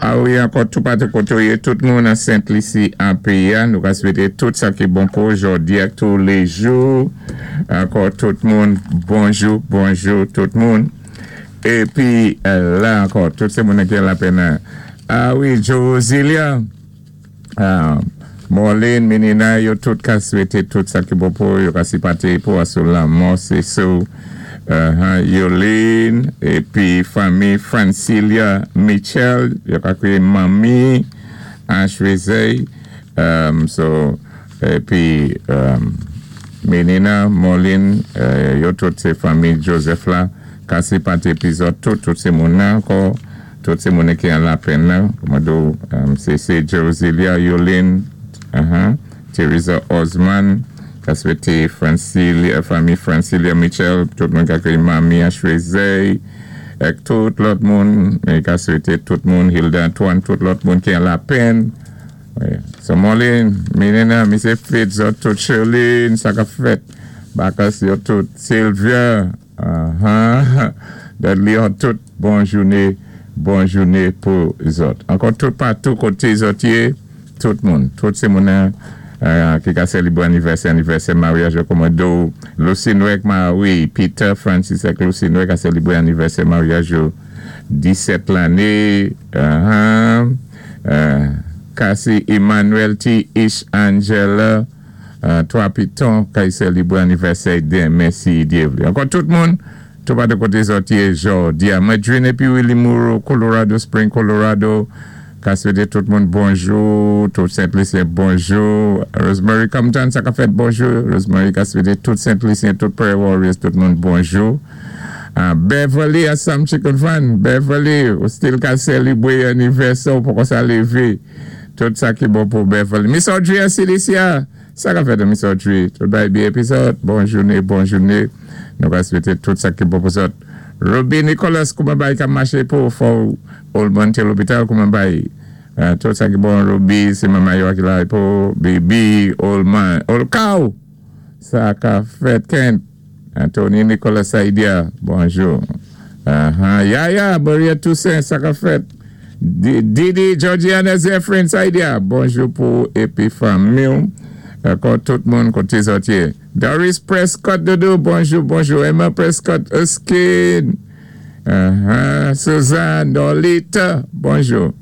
A wi, ankò toupatou koté ou yé, tout moun an Sent Lisi an péyi a, nou ka swété tout sa ki bon pou jòdi ak touléjou. Ankò tout moun, bonjou, bonjou tout moun. Épi la ankò, tout sé moun ki an lapèn. A wi, Josilia. Morlene, Menina, yo tout ka swété tout sa ki bon pou yo ka sipaté pou asou lanmò Sesou, Yolene, épi fanmi Francilia Mitchell, yo ka kwiyé Manmi Ashwezey, so, épi Menina, Morlene, yo tout sé fanmi Joseph la, ka sipaté pi zòt tout, tout sé moun nan ankò. Tout sé moun ki an lapèn nan, kòman di sé sé Josilia Yolene, Teresa Osman, ka swété Francilia, fanmi Francilia Mitchell, tout moun ka kwiyé Manmi Ashwezey, ak tout lòt moun, ka swété tout moun, Hilda Antoine, tout lòt moun ki an lapèn. So Molin, Menina, Misé Fitz, tout Sherlyn, sa ka fèt, Bakas yo tout, Sylvia, Dudley, tout bon jouné, bon jouné pou zòt. Ankò tout patou koté zòt yé, tout moun, tout sé moun ki ka sélibwé anivèsè, anivèsè maryaj yo kòman di Lucy Noël wi, Peter Francis ak Lucy Noël ka sélibwé anivèsè maryaj yo 17 lanné, Cassie Emmanuel T. Ish Angela, Twa Piton ka sélibwé anivèsè denmen si Dye vlé. Ankò tout moun, toupatou koté zòt yé jòdi a. Mwen Dream épi Willie Moreau, Colorado Spring, Colorado, ka swété tout moun bonjou, tout Sent Lisyen bonjou. Rosemary Compton, sa ka fèt bonjou. Rosemary ka swété tout Sent Lisyen, tout Prayer Warriors, tout moun bonjou. Beverly a Sam Chicken Fan, Beverly, ou still ka sélibwé anivèsè ou poko sa lévé. Tout sa ki bon pou Beverly. Miss Audrey a Cilicia, sa ka fèt Miss Audrey. Tout bagay byen épi zòt. Bon jouné, bon jouné. Nou ka swété tout sa ki bon pou zòt. Ruby Nicholas, kouman bay ka maché pou fò Oldman té lopital, kouman bay tout sa ki bon Ruby, sé manman yo ki la pou Bibi, Oldman, Olkaw, sa ka fèt Kent. Anthony Nicolas Saidia, bonjou. Yaya, Maria Toussaint, sa ka fèt. Didi, Georgiana Zephyrin Saidia, bonjou pou épi fanmi. Ankò tout moun koté zòt yé. Doris Prescott Dodo, bonjou, bonjou. Emma Prescott Erskine. Suzanne Dolita, bonjou.